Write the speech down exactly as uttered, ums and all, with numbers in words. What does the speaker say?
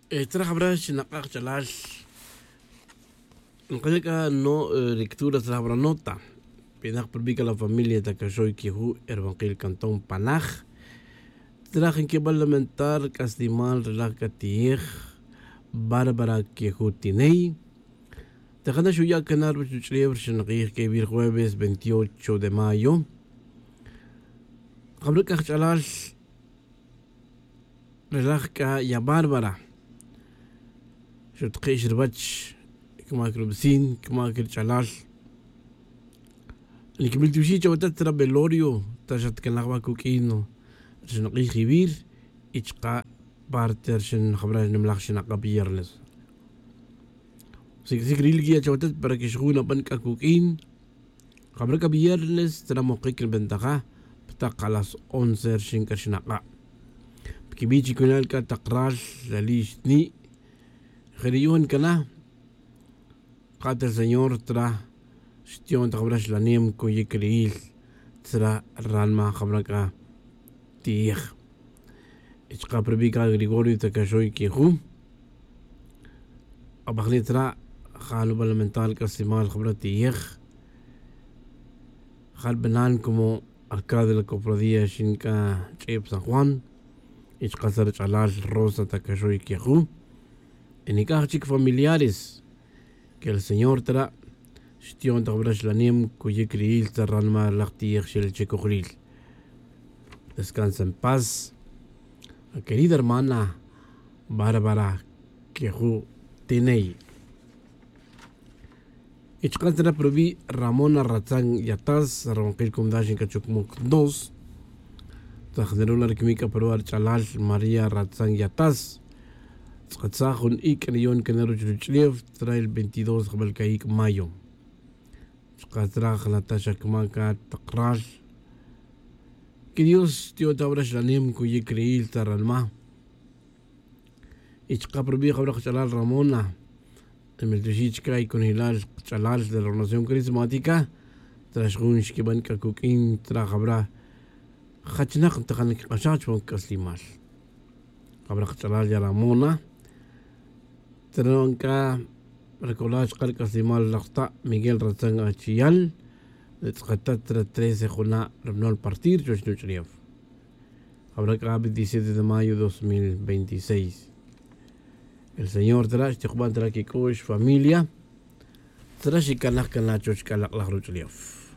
Tzra jabra xinak'aj ch'alal. Nkaya' k'a no lectura tzra jabra nota. Pinak purbi' k'a la familia ta kaxoy kiju' erbankil cantón panaj. Tzra jinkibal lamentar k'aslimal relaj k'a ti'ej bárbara kiju' tiney. Tajana xuya' kana' ruwech ruch'ulef rixinak'ij k'e vir jueves veintiocho de mayo. Jabra k'a jch'alal relaj k'a ya bárbara xutqix ruwech. Kmac rubicin kmac rich'alal. Nikimil tiwixi' chawatet tzra velorio ta xatcanaj wa kuk'in rixinak'ij jivir. Y chka' parte rixin jabra nimalaj xinak'a' viernes. Sic' sic' ril guía chawatet para que xjun aban k'a kuk'in. Jabra k'a viernes tzra mokic nbentaja. Ptak a las once rixin k'a xinak'a' pkibi' chiconal k'a tak ral lali' xtni'. Je' ri yu'un cana. Kate ri señor tzra xti'on ta jabra xlanem cuyic ri'il tzra ranma jabra k'a ti'ej. Y chka' prubi' k'a gregorio ta kaxoy kiju'. Abajni' tzra ja' nuba lamentar k'aslimal jabra ti'ej. Ja' rubanan como alcalde de la cofradía xin k'a ch'ib san juan. Y chka' tzra rach'alal rosa ta kaxoy kiju'. Y nik'aj chic familiares que el señor tzra xti'on ta jabra xlanem cuyic ri'il tzra ranma relaj ti'ej xel che cojlil. Descansa en paz, querida hermana bárbara kiju' tiney. Y chka' tzra prubi' ramona ratzan yatas rawankil cumdal xink'achuk muc dos. Tzra jnirula' rikimic k'a pruba' rich'alal maría ratzan yatas. Tz'akatsaj jun ic' riyon cana ruch ruch'ulef tzra el veintidós jabal c'a ic' mayo. Chka' tzra jnatax akmac atak ral. Que dios xti'on ta jabra xlanem cuyic ri'il tzra ranma. Y chka' prubi' jabra kach'alal ramona. Emiltuxi' chka' y conojilal kach'alal de la ornación carismática. Tzra xjun xquiban k'a cuq'uin tzra jabra jachnak ntajan quik'axaj chupan c'aslimal. Jabra kach'alal ya ramona. Tzra nu'an c'a recordar chka' ri c'aslimal laj ta' miguel ratzan achiyal. Ri tz'akatat ri trece juna' ri banol partir chuwech nuch'ulef. Jabra c'a veintisiete de mayo dos mil veintiséis. El señor tzra' xtijuban tzra' quic'u'x familia. Tzra' xicanaj cana' chuwech c'a lak'laj ruch'ulef.